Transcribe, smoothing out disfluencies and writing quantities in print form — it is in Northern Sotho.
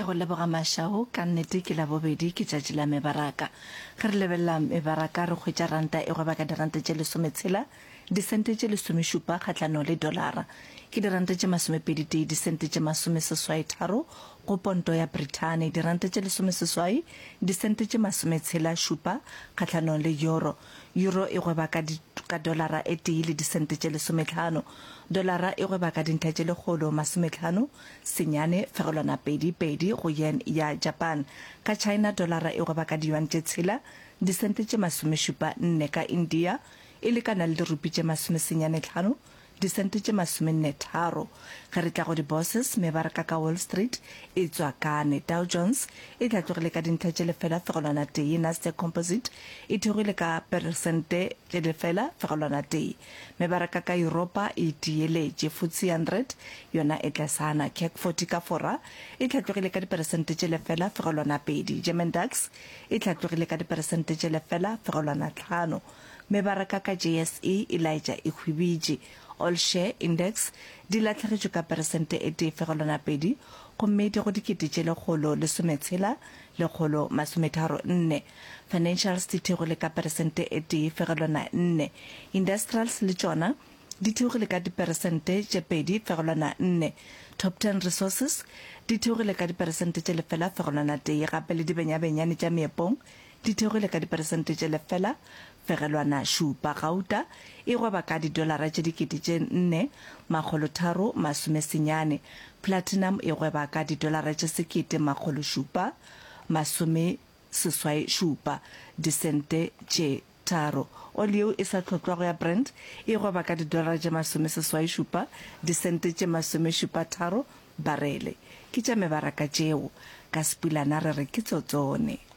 Ke a go leboga Mashao, ka nnete ke Labobedi, ke tšatši la mebaraka. Ge re lebelela mebaraka re hwetša ranta e gweba ka diranta tše lesometshela, disente tše lesomešupa kgahlanong le dolara. Ke diranta tše masomepeditee, disente tše masomeseswai-tharo go ponto ya Brithani, diranta tše lesomeseswai, disente tše masometshela šupa kgahlanong le euro. Euro e gweba ka, ka dolara e tee le disente tše lesometlhano. Dolara e gweba ka dintlha tše lekgolo masometlhano senyane fegelwana 2 pedi go yen ya Japan. Ka China dolara e gweba ka diyuan tše tshela disente tše masomešupa nne, ka India e lekana le dirupi tše masomesenyane tlhano disente tše masomenne tharo. Ge re tla go di-bourses, mebaraka ka Wall Street e tswakane. Dow Jones e hlatlogile ka dintlha tše lefela fegelwana tee, Nasdaq Composite e theogile ka peresente tše lefela fegelwana tee. Mebaraka ka Yuropa e tieletše. FTSE 100 yona e tlasana. CAC 40 ka Fora e hlatlogile ka diperesente tše lefela fegelwana pedi. German DAX e hlatlogile ka diperesente tše lefela fegelwana tlhano. Mebaraka ka JSE e laetša e hwibitše. All Share Index di lahlegetšwe ka peresente e tee fegelwana pedi gomme di go 1,163 134. Financials di theogile ka peresente e tee fegelwana nne. Industrials le tšona di theogile ka diperesente tše pedi fegelwana nne. Top Ten Resources di theogile ka diperesente tše lefela fegelwana tee gape le dibenyabenyane tša meepong di theogile ka diperesente tše lefela fegelwana šupa. Gauta e gweba ka didolara tše 4339. Platinum e gweba ka didolara tše 1787 disente tše tharo. Oli yeo e sa tlhotlwago ya Brent e gweba ka didolara tše 87 disente tše 73 barele. Ke tša mebaraka tšeo. Ka Sepulana re re ke tsotsone.